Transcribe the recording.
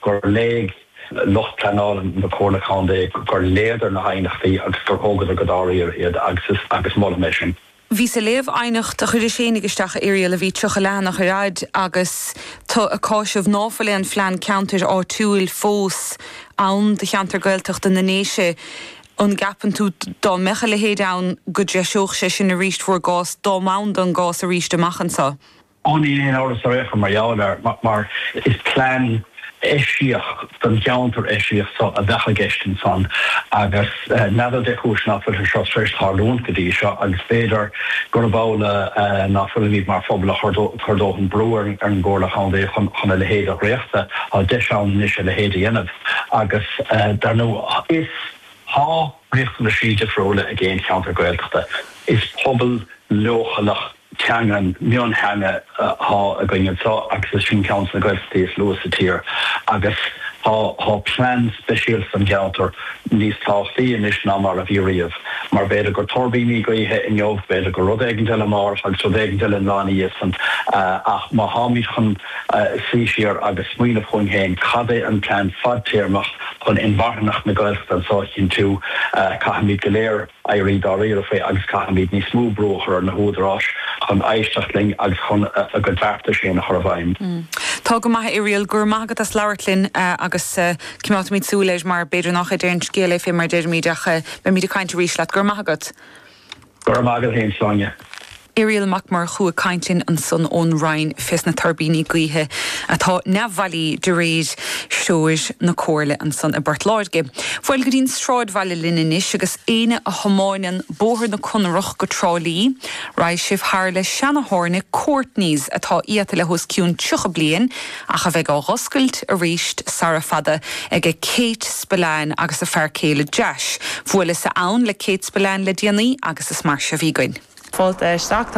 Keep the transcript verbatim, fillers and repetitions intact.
gur léigh lucht pleanála na Comhairle Contae gur léadar na haighneachtaí agus gur thógadar go dáiríre iad agus agus molaim é sin. Bhíos ag léamh aighneacht a chuir Séanig isteach Irial a bhí tríocha leathanach ar fhad agus tá ag cáiseamh ná fuil aon phlean ceantair áitiúil fós ann do cheantar Gaeltachta na nDéise an gceapann tú dá mbeadh a leithéid ann go dtreiseodh sé sin arís bhur gcás dá mb'ann don gcás arís amach anseo. Ó ní aon amhras ar mar gheall air mar is plean eisiach don cheantar eisiach so a bheadh i gceist ansan agus n'fheadar cén chúis nach bhfuil seo tar éis tarlúint go dtí seo agus b'fhéidir gurb amhlaidh nach bhfuilimid mar phobal ag cur dóthain brú ar an gComhairle Chontae chun chun a leithéid a dhréachtadh tá deis ann anois a leithéid a dhéanamh agus dar ndóigh is tá riachtanaisí difriúla ag aon cheantar Gaeltachta is pobal leochaileach teangan mionteanga atá againn anseo agus is sin ceann na Gaeltachtaí is lú sa tír agus tá tá plean speisialta don cheantar níos tábhachtaí anois ná mar a bhí riamh mar b'fhéidir gur tuirbíní gaoithe inniu b'fhéidir gur rud éigin eile amárach agus rud éigin eile an lá ina dhiaidh san ach má tháimid chun suí siar agus smaoineamh chugainn féin cad é an plean fadtéarmach chun inmharthanacht na Gaeltachta anseo a chinntiú caithfimid go léir éirí dáiríre faoi agus caithfimid níos mó brú a chur ar na húdaráis chun éisteacht linn agus chun a gcuid beartais féin a chur i bhfeidhm. Tá go maith Irial go raibh maith agat as labhairt linn agus coimeádfaimid súil air mar b'fhéidir nach é an scéal é fé mar deirimid ach beimid ag caint arís leat go raibh maith agat. Go raibh maith agat féin Sláine. Irial Mac Murchú ag caint linn ansan ón Rinn fés na tuirbíní gaoithe atá neamhbhailí de réir threoir na Comhairle ansan i bPort Láirge. Bhuel go dtí'n sráidbhaile linn anois agus éinne a thiomáineann Bóthar na Conrach go Trá Lí, raghaidh sibh thar le seantábhairne Courtney's atá iata le hos cionn tríocha bliain ach a bheidh á oscailt arís sara fada ag Kate Spillane agus a fear céile Jash. Bhuaileas ann le Kate Spillane le déanaí agus is mar seo a bhí againn. Fáilte isteach